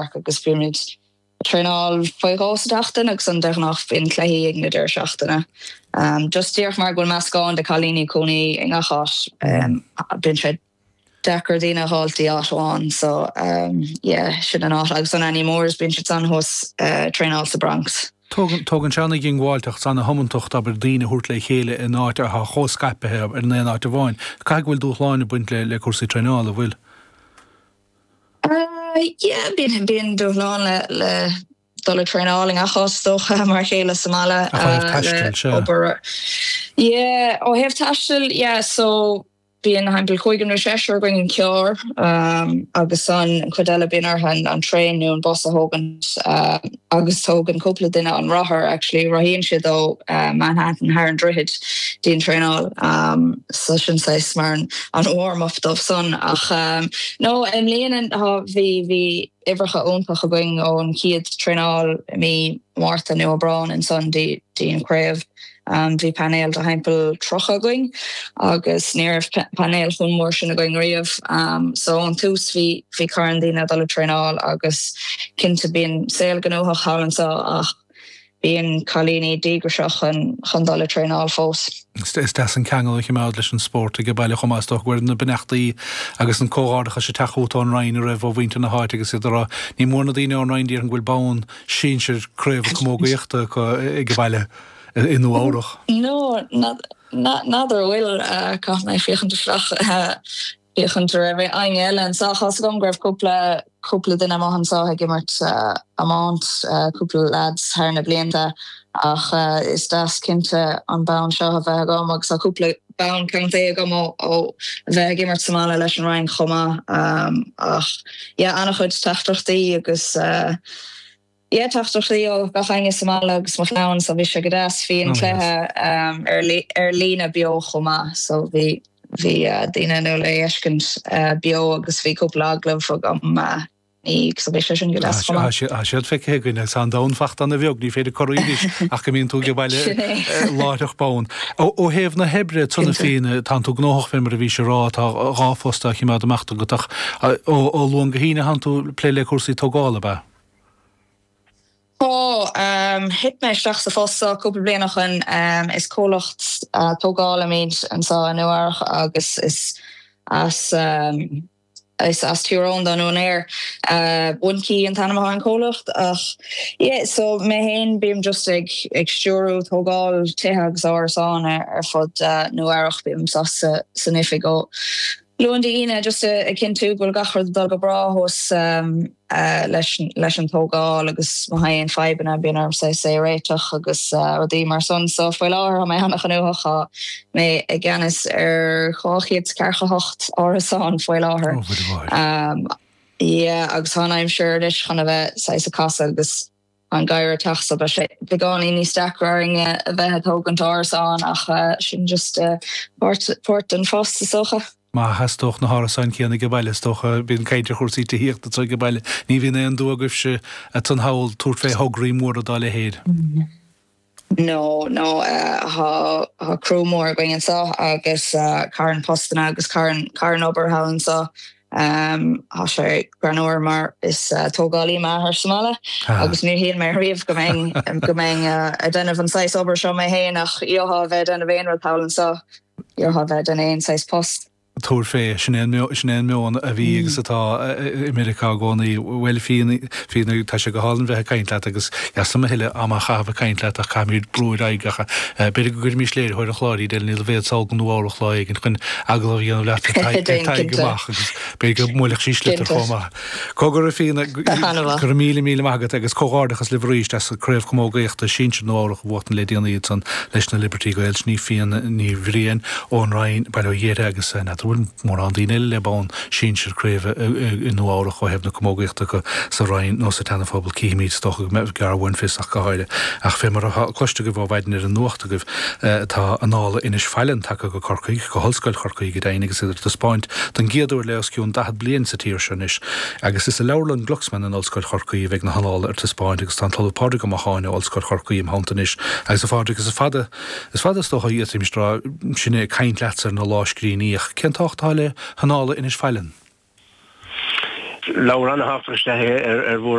York agus bímid ag traenáil faoi dhó sa tseachtain agus an de ghnáth bíonn cluichí ag na deireadh seachtaine. Just díreach mar go bhfuil meascán de cailíní ag cónaí i ngach áit bíonn sé deacair daoine a fháil dtí áit amháin so yeah sin an áit agus an Annie Moores bíonn siad san thuas ag traenáil sa Bronx. Tógann tógann sé an-dhiongbháilteacht 's an-thiomantacht abair daoine a thabhairt le chéile in áit atá chomh scaipthe abair in aon áit amháin. Caithfidh go bhfuil dúshláin ag baint le le cúrsaí traenála, an bhfuil? Yeah bíonn bíonn dúshlán le le dul ag traenáil i ngach áit is dócha mar a chéile sa mbaile Ach ó thaobh taistil, le sea. obair yeah ó thaobh taistil yeah so Bíonn thimpeall cúigear nó seisear againn an carr agus an chuid eile bíonn orthu an traein nó an bus a thógaint agus tógann cúpla duine an rothar actually, rothaíonn siad ó Manhattan thar an droichead dtí an traenáil so sin saghas mar an warm up dóibh san ach no i mbliana bhí bhí uimhreacha iontach againn ón chéad traenáil i mí Márta nó Aibreán ansan dtí an chraobh. Bhí painéal de thimpeall 30 againn agus ní raibh painéal chomh mór sin againn riamh. So ón tús bhí bhí carn daoine ag dul ag traenáil agus cinnte bíonn saol gnóthach thall anseo ach bíonn cailíní díograiseach chun chun dul ag traenáil fós. Is deas an ceangal a choimeád leis an spórt ag baile chomh maith. Is dócha go bhfuil na beannachtaí agus an comhghairdeachas ag teacht chugat ón Rinn a raibh ó mhuintir na háite agus iad ag rá ní mór na daoine ón Rinn déarfainn go bhfuil bonn sinsir craoibhe camógaíochta acu ag baile i Nua Eabhrach. No, n'fheadar an bhfuil, caithfidh mé féachaint isteach, féachaint an raibh éinne eile anseo. Tá 'fhios agam go raibh cúpla, cúpla duine amuigh anseo ag imirt iomáint, cúpla lads thar na blianta ach is deas cinnte an bonn seo a bheith agam agus tá cúpla bonn contae agam ó a bheith ag imirt sa mbaile leis an Rinn chomh maith ach yeah an-chuid teachtaireachtaí agus yeah teachtaireachtaí ó gach éinne sa mbaile agus mo chlann so bhí sé go deas. Bhí an cluiche ar líne beo chomh maith so bhí bhí daoine in ann é a fheiscint beo agus bhí cúpla agallamh agam ní so bhí sé sin go deas chomh maith. Tá siad feicthe againn agus tá an domhan fachta ana bheag, ní féidir corraí anois ach go mbíonn tú ag baile láithreach bonn. Ó thaobh na hoibre ansan a Fíona, tánn tú gnóthach fé mar a bhís ag rá, tá 2 phost á chimeád amach agat ach ó Luan go hAoine tánn tú ag plé le cúrsaí tógála, ab ea? Tá. Thit mé isteach sa phost seo cúpla bliain ó shoin. Is comhlacht tógála muid anseo i Nua Eabhrach agus is as Is as Tír Eoghain don úinéir. One Key an t-ainm atá ar an chomhlacht ach yeah so mé féin bím just ag ag stiúrú tógáil tithe agus árasán ar fud Nua Eabhrach. Bím sa san oifig ó Luan dtí Aoine just ag cinntiú go bhfuil gach rud ag dul go breá thuas leis leis an tógáil agus má tá aon fadhbanna bíonn orm saghas é a réiteach agus rudaí mar san. So faoi láthair tá mé an-ghnóthach, tá mé i gceannas ar 248 árasán faoi láthair. Oh, bhuel, bhuel. Yeah, agus tá an aimsir anois chun a bheith saghas ag casadh agus an geimhreadh ag teacht so beidh sé beagáinín níos deacra orainn a bheith ag tógaint árasán ach sin just páirt páirt den phost is dócha. Má theastódh na hárasáin céanna ag baile is dócha, bíonn caint ar chúrsaí tithíochta anseo ag baile, ní bhíonn aon dua agaibhse ansan thall tabhairt fé thograí móra dá leithéid. No, no, tá tá criú mór againn anseo agus carn postanna agus carn carn obair thall anseo. Tá sé greannmhar mar is tógálaí m'athair sa mbaile agus níor shíl mé riamh go mbeinn go mbeinn ag déanamh an saghas obair seo mé féin ach gheofá a bheith ag déanamh aon rud thall anseo, gheofá a bheith ag déanamh aon saghas post. Tabhair fé, sin é an meon, sin é an meon a bhí agus atá i Meiriceá i gcónaí. Bhuel, Fíona, Fíona, tá sé go hálainn bheith ag caint leat agus is liom a thuilleadh ama a chaitheamh ag caint leat ach caithfimid brú ar aghaidh ach b'fhéidir go gcuirfimís léiritheoir an chláir Edel Ní Loibhéad sall go Nua Eabhrach lá éigin chun agallamh a dhéanamh leat ar Tadhg amach agus b'fhéidir go mbuailfeadh sí sliotar chomh maith. Cogar a Fíona, go raibh míle míle maith agat agus comhghairdeachas libh arís as Craobh Camógaíochta Sinsir Nua Eabhrach a bhuachtain le déanaí ansan leis na Liberty Gaels. Sin í Fíona Ní Bhriain ón Rinn, Baile Ó Ghéartha agus n'fheadar an bhfuil mórán daoine eile le bonn sinsir craoibhe i Nua Eabhrach ó thaobh na camógaíochta acu sa Rinn nó sa tSeana-Phobal. Cífimid, is dócha go mbeidh gearr uainn fios ach go háirithe. Ach fé mar atá cloiste agaibh ó mhaidin ar an nuacht agaibh tá Annála Inis Faithleann tagtha go Corcaigh, go hOllscoil Chorcaí go deimhin agus iad ar taispeáint don gcéad uair le os cionn 40 bliain sa tír seo anois agus is i Leabharlann Glucksman in Ollscoil Chorcaí a bheidh na hannála ar taispeáint agus tá an tOllamh Pádraig Ó Macháin ó Ollscoil Chorcaí im theannta anois agus a Phádraig is fada is fada is dócha a d'fhéadfaimis a rá sinne ag caint leatsa ar na lámhscríbhinní ach cén tábhacht atá le hannála Inis Faithleann? leabhar an-thábhachtach is ea é ar ar.